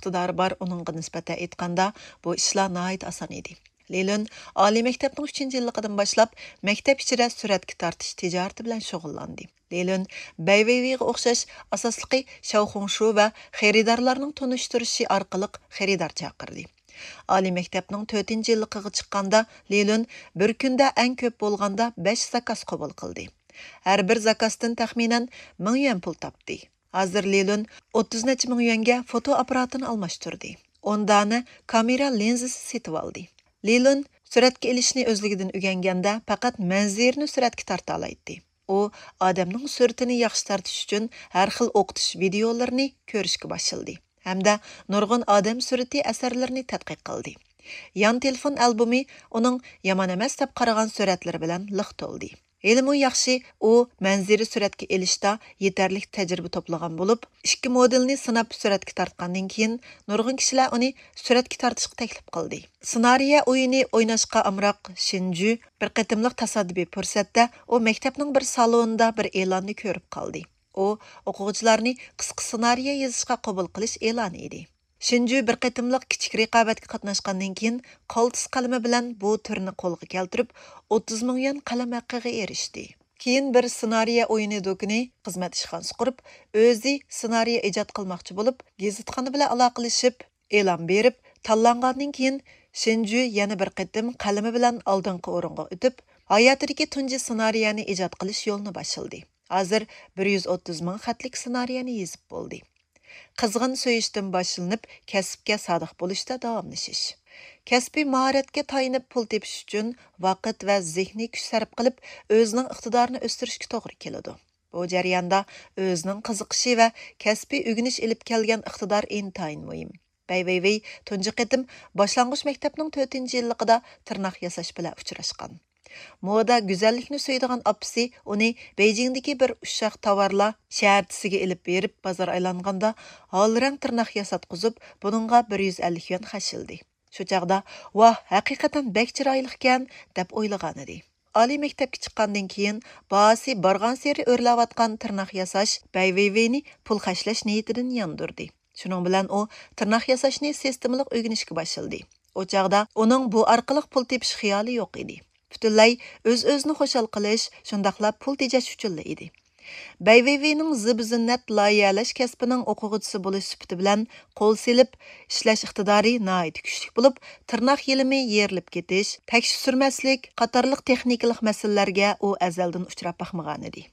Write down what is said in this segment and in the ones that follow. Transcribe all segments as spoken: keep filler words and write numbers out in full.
ئىقتىدارى بار ئۇنىڭغا نىسبەتەن ئېيتقاندا، بۇ ئىشلار ناھايىتى ئاسان ئىدى. لېلۈن ئالىي مەكتەپنىڭ ئۈچىنچى يىللىقىدىن باشلاپ مەكتەپ ئىچىدە سۈرەتكە تارتىش تىجارىتى بىلەن شۇغۇللاندى. لېلۈن بەي ۋېيۋېيغا ئوخشاش ئاساسلىقى شياۋخۇڭشۇ ۋە خېرىدارلارنىڭ تونۇشتۇرۇشى ئارقىلىق خېرىدار چاقىردى. ئالىي مەكتەپنىڭ تۆتىنچى يىللىقىغا چىققاندا لېلۈن بىر كۈندە ئەڭ كۆپ بولغاندا بەش زاكاز قوبۇل قىلدى. ھەر بىر زاكازدىن تەخمىنەن مىڭ يۈەن پۇل تاپتى. ھازىر لېلۈن ئوتتۇز نەچچە مىڭ يۈەنگە فوتو ئاپپاراتىنى ئالماشتۇردى. ئون دانە كامېرا لىنزىسى سېتىۋالدى. لېلۈن سۈرەتكە ئېلىشنى ئۆزلۈكىدىن ئۆگەنگەندە پەقەت مەنزىرىنى سۈرەتكە تارتالايتتى. ئۇ ئادەمنىڭ سۈرىتىنى ياخشى تارتىش ئۈچۈن ھەر خىل ئوقۇتۇش ۋىدېئولىرىنى كۆرۈشكە باشلىدى ھەمدە نۇرغۇن ئادەم سۈرىتى ئەسەرلىرىنى تەتقىق قىلدى. يان تېلېفون ئالبومى ئۇنىڭ يامان ئەمەس دەپ قارىغان سۈرەتلىرى بىلەن لىق تولدى. ھېلىمۇ ياخشى، ئۇ مەنزىرە سۈرەتكە ئېلىشتا يېتەرلىك تەجرىبە توپلىغان بولۇپ، ئىككى مودېلنى سىناپ سۈرەتكە تارتقاندىن كېيىن، نۇرغۇن كىشىلەر ئۇنى سۈرەتكە تارتىشقا تەكلىپ قىلدى. سېنارىيە ئويۇنى ئويناشقا ئامراق شىنجۈ بىر قېتىملىق تاسادىپىي پۇرسەتتە ئۇ مەكتەپنىڭ بىر سالونىدا بىر ئېلاننى كۆرۈپ قالدى. ئۇ ئوقۇغۇچىلارنى قىسقا سېنارىيە يېزىشقا قوبۇل قىلىش ئېلانى ئىدى. شىنجۈ بىر قېتىملىق كىچىك رىقابەتكە قاتناشقاندىن كېيىن، قالتىس قەلىمى بىلەن بۇ تۈرنى قولغا كەلتۈرۈپ، ئوتتۇز مىڭ يۈەن قەلەم ھەققىگە ئېرىشتى. كېيىن بىر سېنارىيە ئويۇنى دۇكىنى خىزمەت ئىشخانىسى قۇرۇپ، ئۆزى سېنارىيە ئىجاد قىلماقچى بولۇپ، گېزىتخانا بىلەن ئالاقىلىشىپ، ئېلان بېرىپ، تاللانغاندىن كېيىن، شىنجۈ يەنە بىر قېتىم قەلىمى بىلەن ئالدىنقى ئورۇنغا ئۆتۈپ، ھاياتىدىكى تۇنجى سېنارىيەنى ئىجاد قىلىش يولىنى باشلىدى. ھازىر بىر يۈز ئوتتۇز مىڭ خەتلىك سېنارىيەنى يېزىپ بولدى. قىزغىن سۆيۈشتىن باشلىنىپ، كەسىپكە سادىق بولۇشتا داۋاملىشىش. كەسپىي ماھارەتكە تايىنىپ پۇل تېپىش ئۈچۈن ۋاقىت ۋە زېھنىي كۈچ سەرپ قىلىپ، ئۆزىنىڭ ئىقتىدارىنى ئۆستۈرۈشكە توغرا كېلىدۇ. بۇ جەرياندا ئۆزىنىڭ قىزىقىشى ۋە كەسپىي ئۆگىنىش ئېلىپ كەلگەن ئىقتىدار ئىنتايىن مۇھىم. بەي ۋېيۋېي تۇنجى قېتىم باشلانغۇچ مەكتەپنىڭ تۆتىنچى يىللىقىدا تىرناق ياساش بىلەن ئۇچراشقان. مودا، گۈزەللىكنى سۆيىدىغان ئاپىسى ئۇنى بېيجىڭدىكى بىر ئۇششاق تاۋارلار شەھەرچىسىگە ئېلىپ بېرىپ، بازار ئايلانغاندا ھالرەڭ تىرناق ياساتقۇزۇپ، بۇنىڭغا بىر يۈز ئەللىك يۈەن خەجلىدى. شۇ چاغدا، «ۋاھ، ھەقىقەتەن بەك چىرايلىقكەن» دەپ ئويلىغانىدى. ئالىي مەكتەپكە چىققاندىن كېيىن، باھاسى بارغانسېرى ئۆرلەۋاتقان تىرناق ياساش بەي ۋېيۋېينى پۇل خەجلەش نىيىتىدىن ياندۇردى. شۇنىڭ بىلەن ئۇ تىرناق ياساشنى سىستېمىلىق ئۆگىنىشكە باشلىدى. ئۇ چاغدا ئۇنىڭ بۇ ئارقىلىق پۇل تېپىش خىيالى يوق ئىدى. پۈتۈنلەي ئۆز-ئۆزىنى خۇشال قىلىش، شۇنداقلا پۇل تېجەش ئۈچۈنلا ئىدى. بەي ۋېيۋېينىڭ زىبۇ-زىننەت لايىھەلەش كەسپىنىڭ ئوقۇغۇچىسى بولۇش سۈپىتى بىلەن قول سېلىپ ئىشلەش ئىقتىدارى ناھايىتى كۈچلۈك بولۇپ، تىرناق يېلىمى يېرىلىپ كېتىش، تەكشى سۈرمەسلىك قاتارلىق تېخنىكىلىق مەسىلىلەرگە ئۇ ئەزەلدىن ئۇچراپ باقمىغانىدى.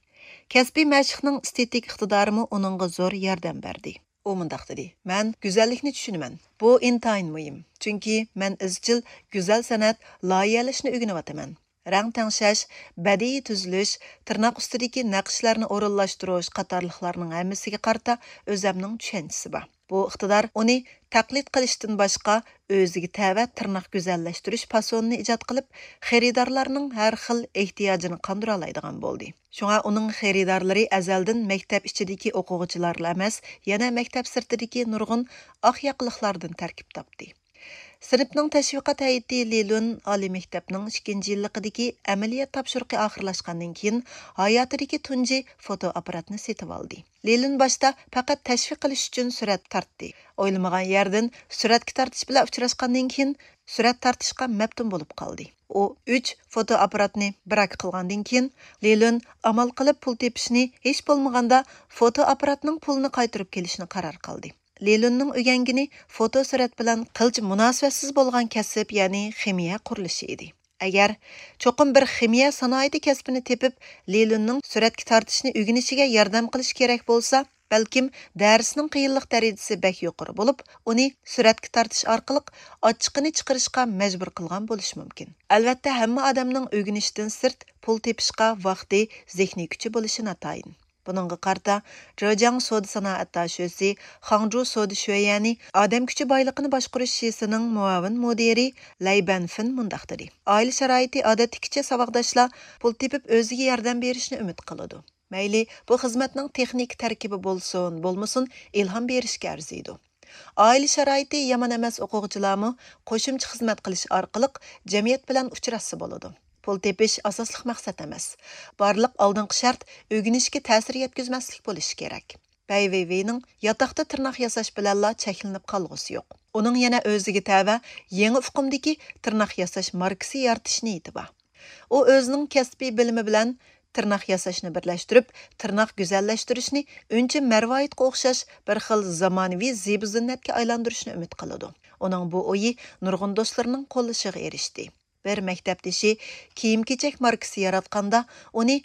كەسپىي مەشىقنىڭ ئېستېتىك ئىقتىدارىمۇ ئۇنىڭغا زور ياردەم بەردى. ئۇ مۇنداق دېدى، «مەن گۈزەللىكنى چۈشىنىمەن. بۇ ئىنتايىن مۇھىم، چۈنكى مەن ئىزچىل گۈزەل سەنئەت، لايىھەلەشنى ئۆگىنىۋاتىمەن. رەڭ تەڭشەش، بەدىئىي تۈزۈلۈش، تىرناق ئۈستىدىكى نەقىشلەرنى ئورۇنلاشتۇرۇش قاتارلىقلارنىڭ ھەممىسىگە قارىتا ئۆزەمنىڭ چۈشەنچىسى بار.» بۇ ئىقتىدار ئۇنى تەقلىد قىلىشتىن باشقا، ئۆزىگە تەۋە تىرناق گۈزەللەشتۈرۈش پاسونىنى ئىجاد قىلىپ، خېرىدارلارنىڭ ھەر خىل ئېھتىياجىنى قاندۇرالايدىغان بولدى. شۇڭا ئۇنىڭ خېرىدارلىرى ئەزەلدىن مەكتەپ ئىچىدىكى ئوقۇغۇچىلارلا ئەمەس، يەنە مەكتەپ سىرتىدىكى نۇرغۇن ئاق ياقىلىقلاردىن تەركىب تاپتى. سىنىپنىڭ تەشۋىقات ھەيئىتى لى لۈن ئالىي مەكتەپنىڭ ئىككىنچى يىللىقىدىكى ئەمەلىيەت تاپشۇرۇقى ئاخىرلاشقاندىن كېيىن، ھاياتىدىكى تۇنجى فوتو ئاپپاراتنى سېتىۋالدى. لى لۈن باشتا پەقەت تەشۋىق قىلىش ئۈچۈن سۈرەت تارتتى. ئويلىمىغان يەردىن سۈرەتكە تارتىش بىلەن ئۇچراشقاندىن كېيىن، سۈرەت تارتىشقا مەپتۇن بولۇپ قالدى. ئۇ ئۈچ فوتو ئاپپاراتنى براك قىلغاندىن كېيىن، لى لۈن ئامال قىلىپ پۇل تېپىشنى، ھېچ بولمىغاندا فوتو ئاپپاراتنىڭ پۇلىنى قايتۇرۇپ كېلىشنى قارار قىلدى. لى لۈننىڭ ئۆگەنگىنى فوتو سۈرەت بىلەن قىلچە مۇناسىۋەتسىز بولغان كەسىپ، يەنى خىمىيە قۇرۇلۇشى ئىدى. ئەگەر چوقۇم بىر خىمىيە سانائىتى كەسپىنى تېپىپ، لى لۈننىڭ سۈرەتكە تارتىشنى ئۆگىنىشىگە ياردەم قىلىش كېرەك بولسا، بەلكىم دەرسنىڭ قىيىنلىق دەرىجىسى بەك يۇقىرى بولۇپ، ئۇنى سۈرەتكە تارتىش ئارقىلىق ئاچچىقىنى چىقىرىشقا مەجبۇر قىلغان بولۇشى مۇمكىن. ئەلۋەتتە، ھەممە ئادەمنىڭ ئۆگىنىشتىن سىرت پۇل تېپىشقا ۋاقتى، زېھنىي كۈچى بولۇشى ناتايىن. بۇنىڭغا قارىتا، جېجياڭ سودا سانائەت داشۆسى خاڭجۇ سودا شۆيەنى ئادەم كۈچى بايلىقىنى باشقۇرۇش شىسىنىڭ مۇئاۋىن مۇدىرى لەي بەنفېن مۇنداق دېدى، ئائىلە شارائىتى ئادەتتىكىچە ساۋاقداشلار پۇل تېپىپ ئۆزىگە ياردەم بېرىشنى ئۈمىد قىلىدۇ. مەيلى بۇ خىزمەتنىڭ تېخنىكا تەركىبى بولسۇن، بولمىسۇن، ئىلھام بېرىشكە ئەرزىيدۇ. ئائىلە شارائىتى يامان ئەمەس ئوقۇغۇچىلارمۇ قوشۇمچە خىزمەت قىلىش ئارقىلىق جەمئىيەت بىلەن ئۇچراشسا بولىدۇ. پۇل تېپىش ئاساسلىق مەقسەت ئەمەس. بارلىق ئالدىنقى شەرت ئۆگىنىشكە تەسىر يەتكۈزمەسلىك بولۇشى كېرەك. بەي ۋېيۋېينىڭ ياتاقتا تىرناق ياساش بىلەنلا چەكلىنىپ قالغۇسى يوق. ئۇنىڭ يەنە ئۆزىگە تەۋە يېڭى ئۇقۇمدىكى تىرناق ياساش ماركىسى يارىتىش نىيىتى بار. ئۇ ئۆزىنىڭ كەسپىي بىلىمى بىلەن تىرناق ياساشنى بىرلەشتۈرۈپ، تىرناق گۈزەللەشتۈرۈشنى ئۈنچە مەرۋايىتقا ئوخشاش بىر خىل زامانىۋى زىبۇ-زىننەتكە ئايلاندۇرۇشنى ئۈمىد قىلىدۇ. ئۇنىڭ بۇ ئويى نۇرغۇن دوستلىرىنىڭ قوللىشىغا ئېرىشتى. بىر مەكتەپدىشى كىيىم-كېچەك ماركىسى ياراتقاندا، ئۇنى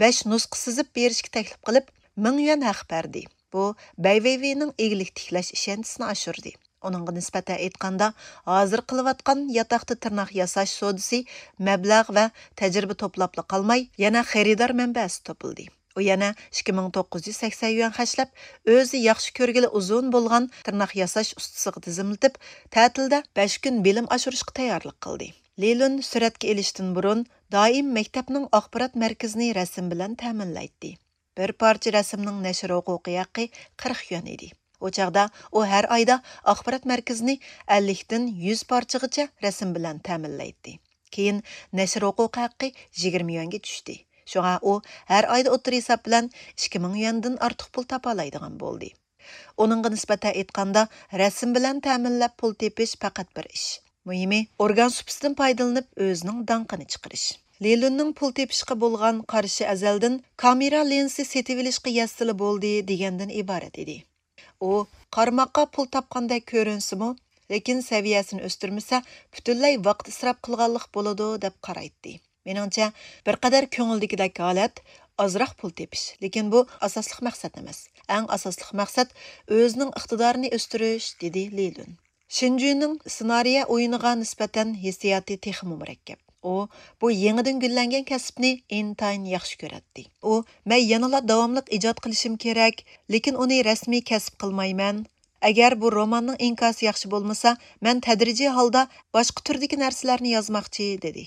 بەش نۇسخا سىزىپ بېرىشكە تەكلىپ قىلىپ، مىڭ يۈەن ھەق بەردى. بۇ بەي ۋېيۋېينىڭ ئىگىلىك تىكلەش ئىشەنچىسىنى ئاشۇردى. ئۇنىڭغا نىسبەتەن ئېيتقاندا، ھازىر قىلىۋاتقان ياتاقتا تىرناق ياساش سودىسى مەبلەغ ۋە تەجرىبە توپلاپلا قالماي، يەنە خېرىدار مەنبەسى توپلىدى. ئۇ يەنە ئىككى مىڭ توققۇز يۈز سەكسەن يۈەن خەجلەپ، ئۆزى ياخشى كۆرگىلى ئۇزۇن بولغان تىرناق ياساش ئۇستىسىغا تىزىملىتىپ، تەتىلدە بەش كۈن بىلىم ئاشۇرۇشقا تەييارلىق قىلدى. لىلۈن سۈرەتكە ئېلىشتىن بۇرۇن دائىم مەكتەپنىڭ ئاخبارات مەركىزىنى رەسىم بىلەن تەمىنلەيتتى. بىر پارچە رەسىمنىڭ نەشر ھوقۇقى ھەققى قىرىق يۈەن ئىدى. ئۇ چاغدا ئۇ ھەر ئايدا ئاخبارات مەركىزىنى ئەللىكتىن يۈز پارچىغىچە رەسىم بىلەن تەمىنلەيتتى. كېيىن نەشر ھوقۇقى ھەققى يىگىرمە يۈەنگە چۈشتى. شۇڭا ئۇ ھەر ئايدا ئوتتۇرا ھېساب بىلەن ئىككى مىڭ يۈەندىن ئارتۇق پۇل تاپالايدىغان بولدى. ئۇنىڭغا نىسبەتەن ئېيتقاندا، رەسىم بىلەن تەمىنلەپ پۇل تېپىش پەقەت بىر ئىش. مۇھىمى، ئورگان سۇپىسىدىن پايدىلىنىپ ئۆزىنىڭ داڭقىنى چىقىرىش. لىلۈننىڭ پۇل تېپىشقا بولغان قارىشى ئەزەلدىن «كامېرا لىنزىسى سېتىۋېلىشقا يەتسىلا بولدى» دېگەندىن ئىبارەت ئىدى. ئۇ قارىماققا پۇل تاپقاندەك كۆرۈنسىمۇ، لېكىن سەۋىيەسىنى ئۆستۈرمىسە، پۈتۈنلەي ۋاقىت ئىسراپ قىلغانلىق بولىدۇ، دەپ قارايتتى. مېنىڭچە، بىر قەدەر كۆڭۈلدىكىدەك ھالەت ئازراق پۇل تېپىش، لېكىن بۇ ئاساسلىق مەقسەت ئەمەس. ئەڭ ئاساسلىق مەقسەت ئۆزىنىڭ ئىقتىدارىنى ئۆستۈرۈش، دېدى لى لۈن. شىنجۈنىڭ سېنارىيە ئويۇنىغا نىسبەتەن ھېسسىياتى تېخىمۇ مۇرەككەپ. ئۇ بۇ يېڭىدىن گۈللەنگەن كەسىپنى ئىنتايىن ياخشى كۆرەتتى. ئۇ، مەن يەنىلا داۋاملىق ئىجاد قىلىشىم كېرەك، لېكىن ئۇنى رەسمىي كەسىپ قىلمايمەن. ئەگەر بۇ روماننىڭ ئىنكاسى ياخشى بولمىسا، مەن تەدرىجىي ھالدا باشقا تۈردىكى نەرسىلەرنى يازماقچى، دېدى.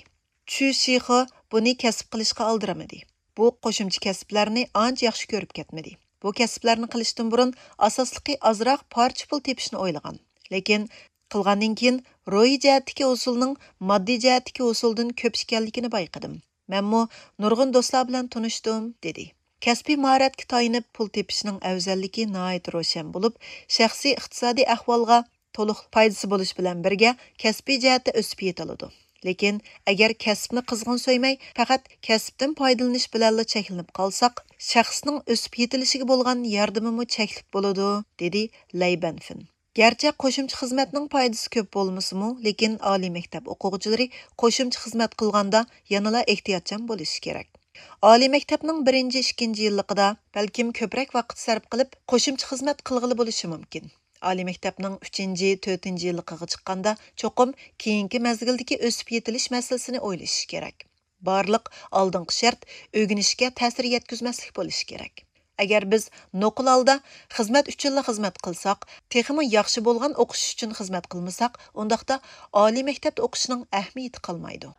چۈ شىخې بۇنى كەسىپ قىلىشقا ئالدىرىمىدى. بۇ قوشۇمچە كەسىپلەرنى ئانچە ياخشى كۆرۈپ كەتمىدى. بۇ كەسىپلەرنى قىلىشتىن بۇرۇن ئاساسلىقى ئازراق پارچە پۇل تېپىشنى ئويلىغان. لېكىن قىلغاندىن كېيىن روھىي جەھەتتىكى ھوسۇلنىڭ ماددىي جەھەتتىكى ھوسۇلدىن كۆپ ئىكەنلىكىنى بايقىدىم. مەنمۇ نۇرغۇن دوستلار بىلەن تونۇشتۇم، دېدى. كەسپىي ماھارەتكە تايىنىپ پۇل تېپىشنىڭ ئەۋزەللىكى ناھايىتى روشەن بولۇپ، شەخسىي ئىقتىسادىي ئەھۋالغا تولۇق پايدىسى بولۇش بىلەن بىرگە، كەسپىي جەھەتتە ئۆسۈپ يېتىلىدۇ. لېكىن ئەگەر كەسىپنى قىزغىن سۆيمەي، پەقەت كەسىپتىن پايدىلىنىش بىلەنلا چەكلىنىپ قالساق، شەخسنىڭ ئۆسۈپ يېتىلىشىگە بولغان ياردىمىمۇ چەكلىك بولىدۇ، دېدى لەي بەنفېن. گەرچە قوشۇمچە خىزمەتنىڭ پايدىسى كۆپ بولمىسىمۇ، لېكىن ئالىي مەكتەپ ئوقۇغۇچىلىرى قوشۇمچە خىزمەت قىلغاندا يەنىلا ئېھتىياتچان بولۇشى كېرەك. ئالىي مەكتەپنىڭ بىرىنچى، ئىككىنچى يىللىقىدا بەلكىم كۆپرەك ۋاقىت سەرپ قىلىپ، قوشۇمچە خىزمەت قىلغىلى بولۇشى مۇمكىن. ئالىي مەكتەپنىڭ ئۈچىنچى، تۆتىنچى يىللىقىغا چىققاندا، چوقۇم كېيىنكى مەزگىلدىكى ئۆسۈپ يېتىلىش مەسىلىسىنى ئويلىشىش كېرەك. بارلىق ئالدىنقى شەرت ئۆگىنىشكە تەسىر يەتكۈزمەسلىك بولۇشى كېرەك. ئەگەر بىز نوقۇل ھالدا خىزمەت ئۈچۈنلا خىزمەت قىلساق، تېخىمۇ ياخشى بولغان ئوقۇش ئۈچۈن خىزمەت قىلمىساق، ئۇنداقتا ئالىي مەكتەپتە ئوقۇشنىڭ ئەھمىيىتى قالمايدۇ.